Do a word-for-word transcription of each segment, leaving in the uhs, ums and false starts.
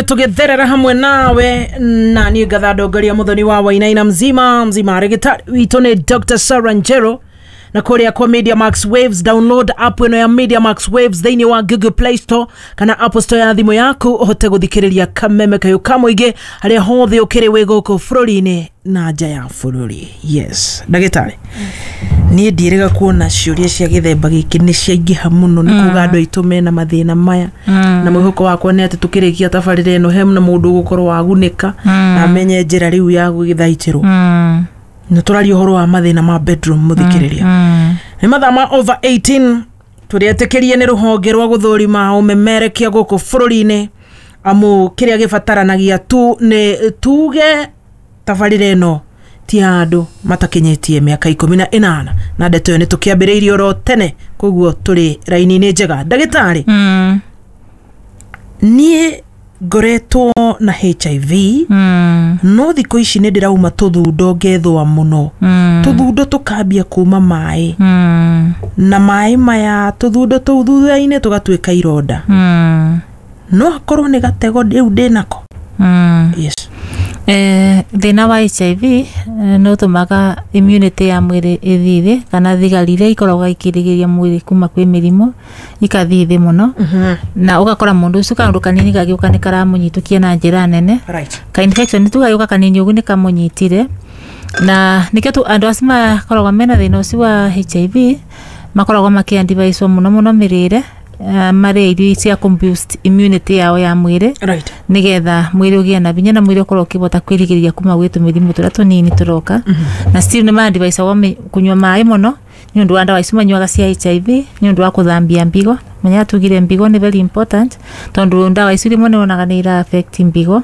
Tũgĩtherera hamwe nawe na niĩ ngatha ndongoria Muthoni wa Wainaina mzima mzima. Rĩgĩtarĩ witũ nĩ Doctor Sarah Njero na kũrĩa kwa Media Max Waves. Download app ĩno ya Media Max Waves thĩinĩ wa Google Play Store kana Apple Store ya thimũ yaku ũhote gũthikĩrĩria kameme kayũ ka mũingĩ harĩa hothe ũkĩrĩ wĩ gũkũ bũrũri-inĩ na nja ya bũrũri. Yes, ndagĩtarĩ, niĩ ndiĩrĩga kuona ciũria cia gĩthemba gĩkĩ nĩ ciaingĩha mũno, nĩ kuga andũ aitũ mena mathĩna maya, na mwĩhoko wakwa nĩ atĩ tũkĩrĩkia tabarĩra ĩno he na mũndũ ũgũkorwo wagunĩka na amenye njĩra rĩu ya gũgĩthaitĩrwo. Nĩ tũraria ũhoro wa mathĩna ma bedroom. Mũthikĩrĩria, nĩ mathaa ma over eighteen, tũrĩetĩkĩrie nĩ rũhonge rwa gũthũrima ũmemerekia gũkũ bũrũri-inĩ, amu kĩrĩa gĩbataranagia tu nĩ tuge tabarĩra ĩno ti ya andũ matakinyĩtie mĩaka ikũmi na ĩnana, na ndeto ĩyo nĩ tũkĩambĩrĩirie oro tene, koguo tũrĩ raini-inĩ njega. Ndagĩtarĩ, Mm. niĩ ngoretwo na H I V, Mm. no thikũ ici nĩ ndĩrauma tũthundo, ngethũa mũno, Mm. tũthundo tũkambia kuma maĩ, Mm. na maĩ maya tũthundo tũu thutha-inĩ tũgatuĩka ironda. Mm. No akorwo nĩ gatego rĩu ndĩnako? Mm. Yes. Eh, thĩna wa H I V eh, nĩ ũtũmaga immunity ya mwĩrĩ ĩthiĩ thĩ, kana thigari iria ikoragwo ikĩrigĩrĩria mwĩrĩ kuma kwĩ mĩrimũ ikathiĩ thĩ mũno, na ũgakora mũndũ ũcio kaũndũ kanini gagĩũka nĩ karamũnyitũkia na njĩra nene. Right ka infection tu gagĩũka kanini ũguo nĩ kamũnyitire, na nĩkĩo tu andũ acio makoragwo mena thĩna ũcio wa H I V makoragwo makĩadvicewo mũno mũno mĩrĩre, eh, marĩe irio cia kũ boost immunity yao ya mwĩrĩ, right nĩgetha mwĩrĩ ũgĩe na hinya na mwĩrĩ ũkorwo ũkĩhota kwĩrigĩrĩria kuma gwĩ tũmĩrimũ tũrĩa tũnini tũroka. Na still nĩ maadviceagwo kũnyua maĩ mũno nĩ ũndũ wa ndawa icio manyuaga cia H I V, nĩ ũndũ wa kũthambia mbigo. Menya tugire mbigo nĩ very important, tondũ ndawa icio rĩmwe nĩ wonaga nĩ ira affect mbigo.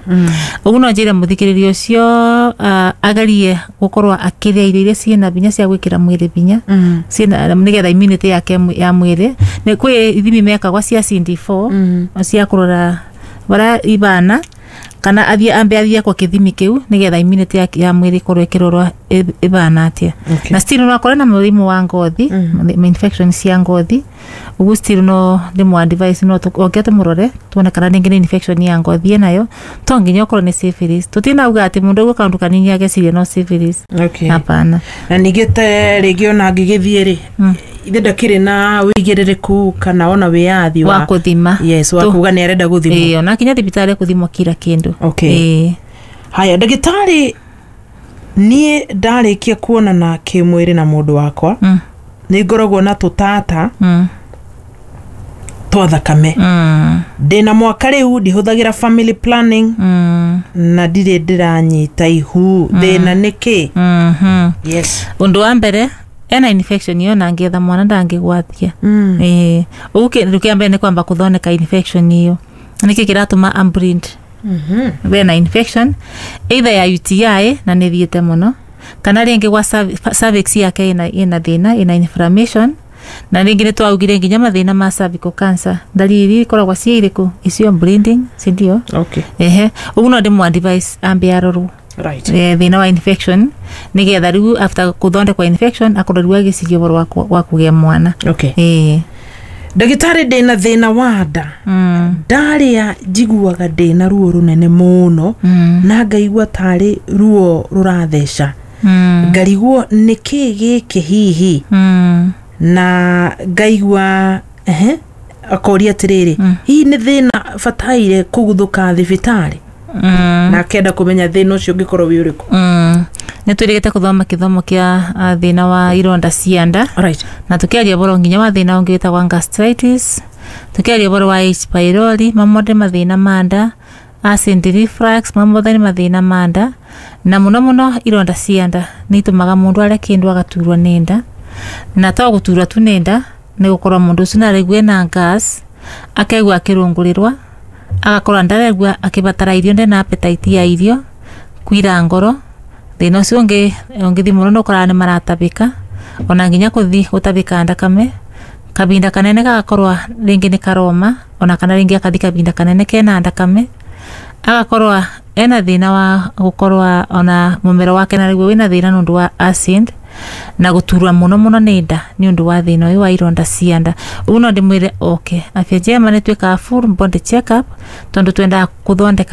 Ũguo no njĩre mũthikĩrĩria ũcio uh, agerie gũkorwo akĩrĩa irio iria ciĩna hinya cia gwĩkĩra mwĩrĩ hinya, ciĩna nĩgetha immunity yake ya mwĩrĩ. Nĩ kwĩ ithimi mekagwo cia C D four cia kũrora barĩa ibana, kana athiĩ ambe athiĩ kwa kĩthimi kĩu nĩgetha immunity ya, ya mwĩrĩ ĩkorwo ĩkĩrorwo ĩ- ĩbana atĩa. Okay. Na still no akorwo na mũrimũ wa ngothi, mm. infection cia ngothi. Ũguo still no ndĩmũ advise no tũ- oke tũmũrore tuone kana rĩngĩ nĩ infection ya ngothi ĩnayo, to nginya ũkorwo nĩ syphilis. Tũtinauga atĩ mũndũ aigua kaũndũ kanini ageciria no syphilis. Okay. Hapana. Na ningĩ te rĩngĩ ona angĩgĩthiĩ rĩ, ithe ndakĩrĩ na wĩigĩrĩrĩku kana ona wĩyathi wa kũthima. Yes, wa Tu- kuga nĩ arenda gũthimwo. Ĩĩ, ona kinya thibitarĩ kũthimwo kila kĩndũ. Okay. Ĩĩ. Haya, ndagĩtarĩ, niĩ ndarĩkia kuonana kĩmwĩrĩ na mũndũ wakwa, Mm. nĩ ngoragwo na tũtata Mm. twa thakame. Mm. Ndĩna mwaka rĩu ndihũthagĩra family planning, Mm. na ndirĩ ndĩranyita ihu. Thĩna nĩ kĩ? Mhm. Yes. Ũndũ wa mbere, ena infection iyo na angĩetha mwana ndangĩgwatia. Mm. Ĩĩ, ũguo kĩndũ kĩa mbere nĩ kwamba kũthondeka infection iyo, nĩkĩ kĩratũma ambleed. Mhm. Bena infection either ya U T I na nĩ thiĩte mũno, kana rĩngĩ gwa cerv- cervix yake ĩna ĩna thĩna, ĩna inflammation. Na rĩngĩ nĩ twaugire nginya mathĩna ma cervical cancer ndariri ikoragwo ciĩ irĩkũ icio, bleeding, sindio? Okay. Ehe, ũguo no ndĩmũ advise ambe arorwo right eh, thĩna wa infection, nĩgetha rĩu after kũthondekwa infection akorwo rĩu agĩciria ũhoro wa kũ- wa kũgĩa mwana. Okay. Ĩĩ. Ndagĩtarĩ, ndĩna thĩna wa nda. Mm. Ndarĩa njiguaga ndĩna ruo rũnene mũno, Mm. na ngaigua tarĩ ruo rũratheca, Mm. ngarigwo nĩ kĩ gĩkĩ hihi, Mm. na ngaigua ehe. Akoria atĩrĩrĩ, Mm. hihi nĩ thĩna bataire kũguthũka thibitarĩ? Mm. Na akenda kũmenya thĩna ũcio ũngĩkorwo wĩ ũrĩkũ. Mm. Nĩ twĩrĩgĩte kũthoma gĩthomo kĩa ah, thĩna wa ironda cia nda, right na tũkĩaria ũhoro nginya wa thĩna ũngĩ wĩtagwo gastritis, tũkĩaria ũhoro wa H pylori, mamothe mathĩna ma nda, acid reflux, mamothe nĩ mathĩna ma nda. Na mũno mũno ironda cia nda nĩ itũmaga mũndũ arĩa kĩndũ agaturwo nĩ nda, na to gũturwo tu nĩ nda, nĩ gũkorwo mũndũ ũcio nĩ araigua ena gas, akaigua akĩrũngũrĩrwa, agakorwo ndaraigua akĩbatara irio, ndena appetite ya irio, kwira ngoro. Thĩna ũcio ũngĩ ũngĩthiĩ mũno nĩ ũkoraga nĩ maratabĩka, ona nginya kũthi gũtabĩka thakame kabinda kanene, gagakorwo rĩngĩ nĩ karoma, ona kana rĩngĩ akathi kabinda kanene kena thakame, agakorwo ena thĩna wa gũkorwo ona mũmero wake narĩguo wĩna thĩna nĩ ũndũ wa acid. Na guturwa muno muno nĩ nda nĩ ũndũ wa thĩna ũyũ wa ironda cia nda. Ũguo no ndĩmwĩre oke Afya Njema, nĩ twĩkaga full body check up tondũ twendaga gũthondeka.